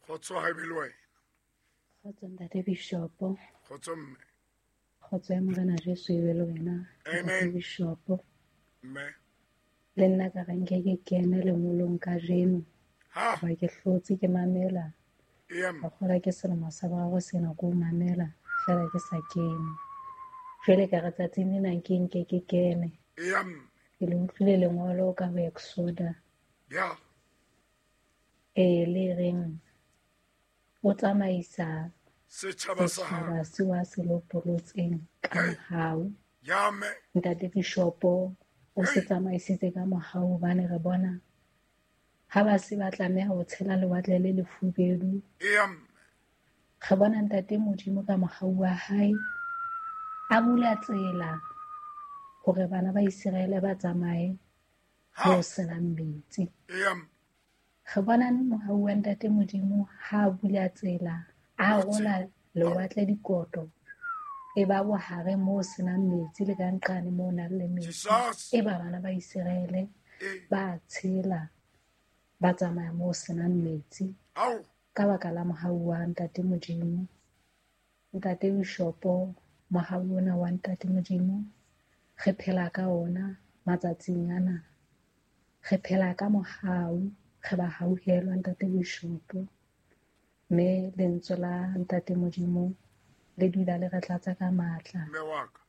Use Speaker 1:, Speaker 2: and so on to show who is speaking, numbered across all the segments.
Speaker 1: Kgotso ha e be le wena.
Speaker 2: Kgotso ntate Bishopo.
Speaker 1: Kgotso mme.
Speaker 2: Kgotso ya Morena Jesu e be le wena.
Speaker 1: Amen.
Speaker 2: Bishopo.
Speaker 1: Mme.
Speaker 2: Le nna ka re nke ke kene lengolong kajeno.
Speaker 1: Ha.
Speaker 2: Hoba ke hlotse ke mamela.
Speaker 1: Eya mme.
Speaker 2: Ka kgolwa ke selemo sa boraro sena ko mamela fela ke sa kene. Jwale ka re tsatsing lena nke nke ke kene.
Speaker 1: Eya mme.
Speaker 2: Ke le utlwile lengolo ka ho Exoda.
Speaker 1: Ya.
Speaker 2: E le reng o tsamaisa
Speaker 1: Setjhaba sa hao.
Speaker 2: setjhaba seo a se lopolotseng ka
Speaker 1: Hey.
Speaker 2: mohau.
Speaker 1: Ya mme.
Speaker 2: Ntate Bishopo o se
Speaker 1: Hey.
Speaker 2: tsamaisitse ka mohau hobane re bona ha ba se ba tlameha ho tshela lewatle le lefubedu.
Speaker 1: Eya mme.
Speaker 2: Re bona ntate Modimo ka mohau wa hae a bula tsela hore bana ba Iseraele ba tsamaye
Speaker 1: Ha.
Speaker 2: mo senang metsi.
Speaker 1: Eya mme.
Speaker 2: Re bona mohau wa ntate Modimo ha a bula tsela, a rola lewatle dikoto, e ba bohare moo senang metsi le ka nqane moo nang le metsi.
Speaker 1: Jesus.
Speaker 2: E ba bana ba Iseraele
Speaker 1: E.
Speaker 2: ba tshela, ba tsamaya moo senang metsi.
Speaker 1: Ao.
Speaker 2: Ka baka la mohau wa ntate Modimo. Ntate Bishopo, mohau ona wa ntate Modimo, re phela ka ona matsatsing ana. Re phela ka mohau, re ba hauhelwa ntate Bishopo. Mme lentswe la ntate Modimo le dula le re tlatsa ka matla.
Speaker 1: Mme wa ka.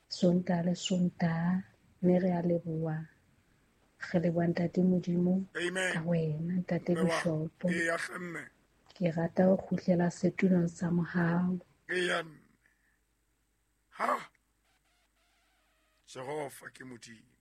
Speaker 2: Sontaha le Sontaha, mme re a leboha. Re leboha ntate Modimo
Speaker 1: Amen.
Speaker 2: ka wena ntate
Speaker 1: Mme wa.
Speaker 2: Bishopo.
Speaker 1: Eya hle mme.
Speaker 2: Ke rata ho kgutlela setulong sa mohau.
Speaker 1: Eya mme. Ha. Jehova ke Modimo.